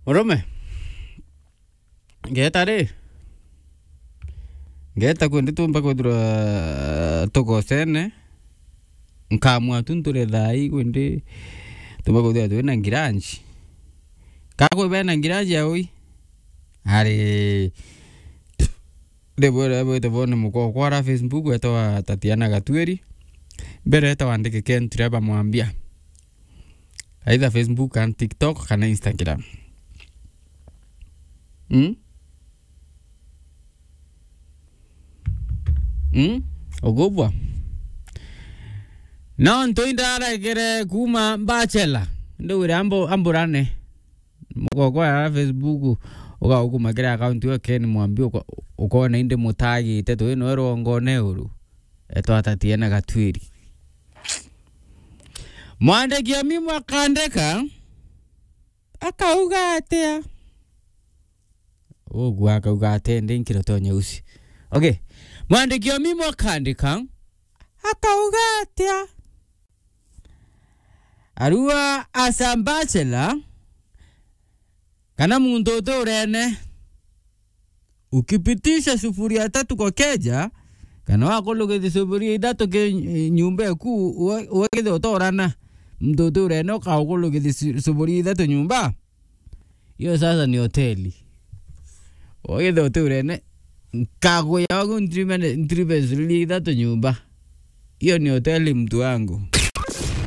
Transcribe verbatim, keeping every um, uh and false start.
Murume. Ngeta ri. Ngeta kwendi tumba kwithirwa tugocene. Nkamua tu nture thai kwendi tumba kwithirwa twina ngiranji. Kakwi bena ngiranji ya ui. Ari. Ndibwira bwite bone mukokwa ara Facebook etawa Tatiana Gatwiri. Mbere eta wandike Ken Trevor Mwambia. Either Facebook and TikTok kana Instagram. Mm? Mm? Ugubwa. No ntu indaregere kuma Bachelor. Ndugire ambo amburane. Mukokwa ya Facebook ugaukuma kiri account yo Ken Mwambi uko- ukona indi mutagite twi no rwongone uru. Etwa Tatiana Gatwiri. Mwandiki o mimo akandika, akauga atia? Ugu akauga atia ndi nkiro to nyeusi. Okay. Mwandiki o mimo akandika, akauga atia? Arua asa bachelor, kana muntu uturene, ukipitisha sufuria tatu kwa keja, kana wakulugithi sufuria ithatu ki nyumba eku, uwe- uwe githe utorana, muntu uturene ukaukulugithia su- sufuria ithatu nyumba, iyo sasa ni hoteli. Uwe githe uturene, nkaguya wagu ntirime- ntirime sufuria ithatu nyumba. Iyo ni hoteli, mtu wangu.